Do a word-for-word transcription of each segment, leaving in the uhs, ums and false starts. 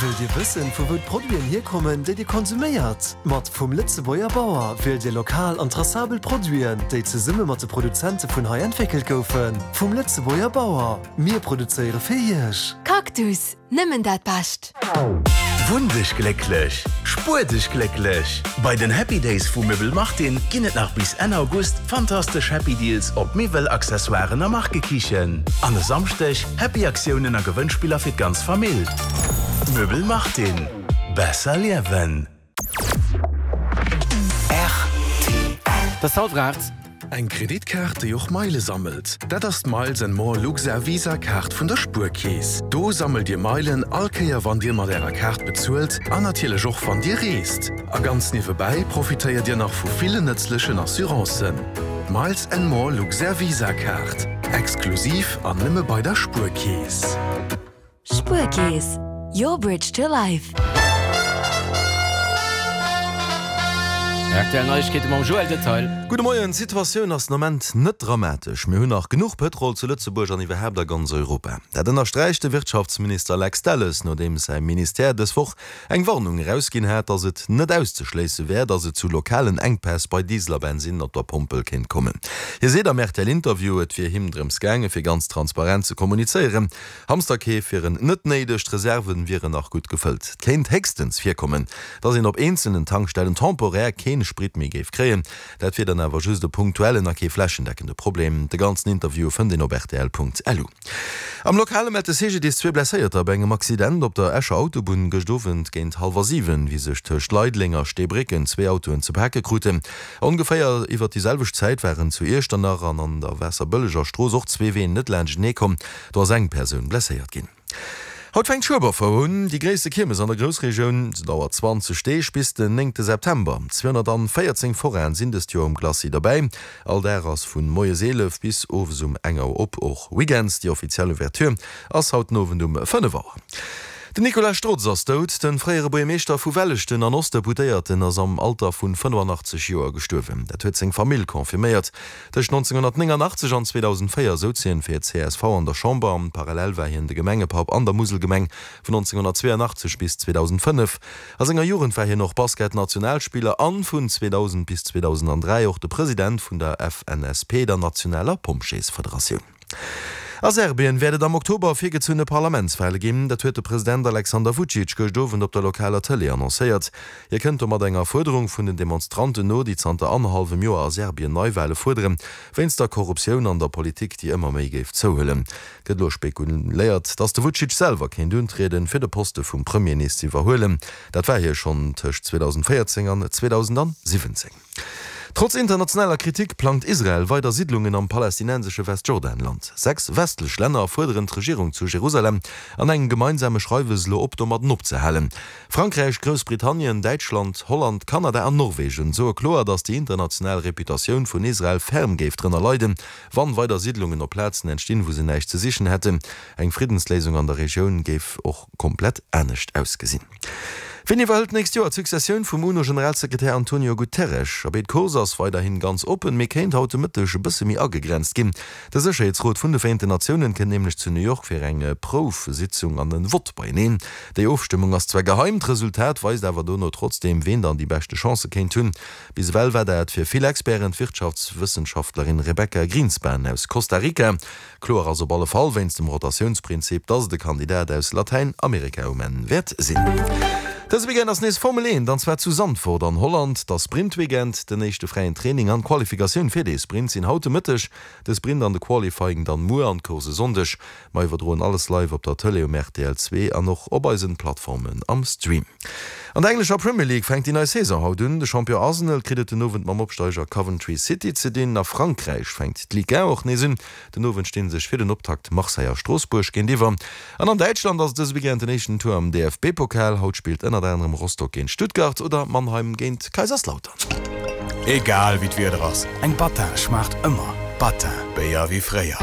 Wëllt Dir wëssen, vu wou d'Produiten hierkommen, déi Dir konsuméiert? Mat Vum Lëtzebuerger Bauer wielt Dir lokal an traçabel Produiten, déi zesumme mat de Produzente vun hei entwéckelt goufen. Vum Lëtzebuerger Bauer, mir produzéiere fir Iech. Cactus, nëmmen dat Bescht! Wunn dech glécklech, spuer dech glécklech! Bei den Happy Days vu Möbel Martin ginn et nach bis Enn August fantastesch Happy Deals op Miwwel, Accessoiren a Markekichen. An e Samschdeg Happy Aktiounen a Gewënnspiller fir d'ganz Famill. Möbel Martin, besser liewen! Et ass hallwer aacht. Eng Kreditkaart, déi och Meile sammelt? Dat ass d'Miles and More Luxair Visa Kaart vun der Spuerkeess. Do sammelt Dir Meilen all Kéier wann Dir mat Ärer Kaart bezuelt an natierlech och wann Dir reest. A ganz niewebäi profitéiert Dir nach vu villen nëtzlechen Assurancen. D'Miles and More Luxair Visa Kaart, exklusiv an nëmme bei der Spuerkeess. Spuerkeess, your bridge to life. Rtl Neiegkeete mam Joël Detail. Gudde Moien, D'Situatioun ass den Ament net dramatesch. Mir hunn nach genuch Pëtrol zu Lëtzebuerg an iwwerhaapt a ganz Europa. Dat ënnersträicht de Wirtschaftsminister Lex Delles, nodeems säi Ministère dës Woch eng Warnung erausginn hat, datt et net auszeschléisse wär, datt et zu lokalen Enkpäss bei Diesel a Bensinn op der Pompel kéint kommen. Hie seet am RTL-Interview, et wier him drëms gaange fir ganz transparent ze kommunizéieren. Hamsterkeef wieren net néideg, d'Reserven wieren nach gutt gefëllt. Et kéint héchstens virkommen, datt een op eenzelnen Tankstellen temporär keen Sprit méi géif kréien. Dat wier dann awer just e punktuellen a kee flächendeckende Problem. De ganzen Interview fënnt een op rtl.lu. Am Lokale mellt de C G D I S zwee Blesséierter bei engem Accident op der Escher Autobunn gëscht Owend géint hallwer siwen, wéi sech tëscht Leideleng a Steebrécken zwee Autoen ze pake kruten. Ongeféier iwwer déi selwecht Zäit waren zu Iechternach an an der Waasserbëlleger Strooss och zwee Ween net laanschtenee komm. Do ass eng Persoun blesséiert ginn. Haut fänkt d'Schueberfouer un, déi gréisste Kiermes an der Groussregioun. Se dauert zwanzeg Deeg bis den néngte September. zweehonnertanvéierzéng Forainen sinn dëst Joer um Glacis derbäi. All Dag ass vun moies eelef bis owes um eng Auer op, och Weekends. Déi offiziell Ouverture ass haut den Owend um fënnef Auer. Den Nicolas Strotz ass dout. De fréiere Buergermeeschter vu Welleschten an Ostdeputéierten ass am Alter vun fënnefannachtzeg Joer gestuerwen. Dat huet seng Famill confirméiert. Tëscht nonzénghonnertnéngannachtzeg an zweedausendvéier souz hien fir d'C S V an der Chamber. Parallel war hien de Gemengepapp an der Muselgemeng vun nonzénghonnertzweeannachtzeg bis zweedausendfënnef. A senger Jugend war hien och Basket-Nationalspiller an vun zweedausend bis zweedausendandräi och de President vun der F N S P, der nationaler Pompjeesfederatioun. A Serbien wäert et am Oktober virgezunne Parlamentswale ginn. Dat huet de President Alexander Vucic gëscht Owend op der lokaler Tëlee annoncéiert. Hie kënnt domat enger Fuerderung vun den Demonstranten no, déi zanter annerhallwem Joer a Serbien Neiwale fuerderen, wéinst der Korruptioun an der Politik, déi ëmmer méi géif zouhuelen. Gëtt elo spekuléiert, datt de Vucic selwer kéint untrieden, fir de Poste vum Premier nees ze iwwerhuelen. Dat war hie schonn tëscht zweedausendvéierzéng an zweedausendsiwwenzéng. Trotz internationaler Kritik plangt Israel weider Siidlungen am palästinensesche Westjordanland. Sechs westlech Länner fuerderen d'Regierung zu Jerusalem an engem gemeinsame Schreiwes elo op, domadden opzehalen. Frankräich, Groussbritannien, Däitschland, Holland, Kanada an Norwegen soe kloer, datt déi international Reputatioun vun Israel ferm géif drënner leiden, wann weider Siidlungen op Plazen entstinn, wou se näischt ze sichen hätten. Eng Friddensléisung an der Regioun géif och komplett anescht ausgesinn. Wien iwwerhëlt d'nächst Joer d'Successioun vum UNO-Generalsekretär Antonio Guterres? Abee, d'Course ass weiderhin ganz oppen, mee kéint haut de Mëtteg e bësse méi agegrenzt ginn. De Sécherheetsrot vun de Vereenten Natiounen kënnt nämlech zu New York fir eng Proufsitzung an e Vott beieneen. Déi Ofstëmmung ass zwar geheim, d'Resultat weist awer dono trotzdeem, wien dann déi beschte Chancë kéint hunn. Bis ewell war dat fir vill Experten d'Wirtschaftswëssenschaftlerin Rebecca Grynspan aus Costa Rica. Kloer ass op alle Fall wéinst dem Rotatiounsprinzip, dass et e Kandidat aus Latäinamerika um Enn wäert sinn. Dëse Weekend ass nees Formel eent, an zwar zu Zandvoort an Holland. De Sprint-Weekend, den éischte fräien Training an d'Qualifikatioun fir de Sprint sinn haut de Mëtteg. De Sprint an de Qualifying dann muer an d'Course e Sonndeg. Mer iwwerdroen alles live op der Tëlee um R T L zwee an och op eisen Plattformen am Stream. An der englescher Premier League fänkt déi nei Saison haut un. De Champion Arsenal kritt et den Owend mam Opsteiger Coventry City ze dinn. A Frankräich fänkt d'Ligue un och nees un. Den Owend sti sech fir den Optakt Marseille a Stroossbuerg géintiwwer. An an Däitschland ass dëse Weekend den éischten Tour am D F B-Pokal. Haut spillt ënnert anerem Rostock géint Stuttgart oder Mannheim géint Kaiserslautern. Egal wéi d'Wieder ass, eng Battin schmaacht ëmmer. Battin, Béier wéi fréier.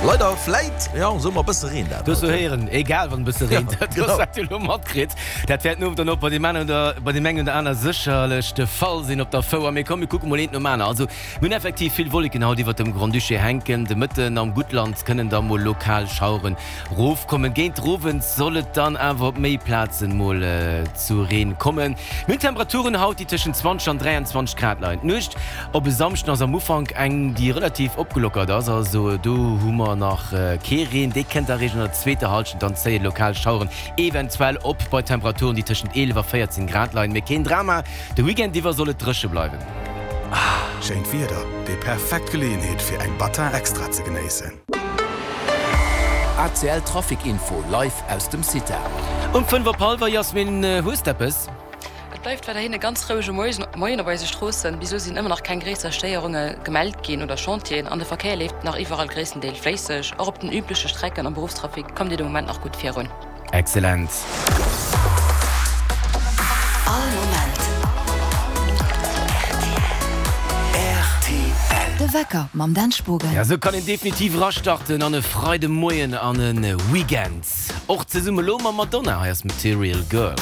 Leider vläit, jo, soe mer e bësse Reen dat Du hues haut, jo jo. héieren, egal wann e bësse Ja, reent, dat genau. hues du elo matkritt. Dat wäert den Owend dann och bei deem einen oder bei deem engen oder aner sécherlech de Fall sinn op der Fouer. Mee komm, mir kucke mol eent nom aner. Also, mir hunn effektiv vill Wolleken haut iwwert dem Grand-Duché hänken. De Mëtten am Guttland kënnen da mol lokal Schaueren rofkommen. Géint Owend soll et dann awer op méi Plazen mol zu Reen kommen. Mir hunn Temperaturen haut, déi tëschent zwanzeg an dräianzwanzeg Grad leien. D'Nuecht op e Samschden ass am Ufank eng, déi relativ opgelockert ass, also do hu mer nach kee Reen. Dee kënnt eréischt an der zweeter Hallschent, dann zéie lokal Schaueren eventuell op bei Temperaturen, déi tëschent eelef a véierzéng Grad leien. Mee keen Drama, de Weekend iwwer soll et dréche bleiwen. Schéint Wieder, déi perfekt Geleeënheet fir eng Battin Extra ze genéissen. A C L Trafic Info live aus dem CITA. Um fënnef op hallwer, Jasmin, hues d'eppes? Et bleift weiderhin e ganz rouege Moien op eise Stroossen. Bis elo sinn ëmmer nach keng gréisser Stéierunge gemellt ginn oder Chantieren an de Verkéier leeft nach iwwerall gréisstendeels fléisseg. Och op den übleche Strecken am Beruffstrafic kommt Dir de Moment nach gutt virun. Excellent. All Moment R T L. De Wecker mam Dan Spogen. Ja, sou kann een definitiv erastarten an e Freidemoien an e Weekend. Och zesumme lo mam Madonna, hei ass Material Girl.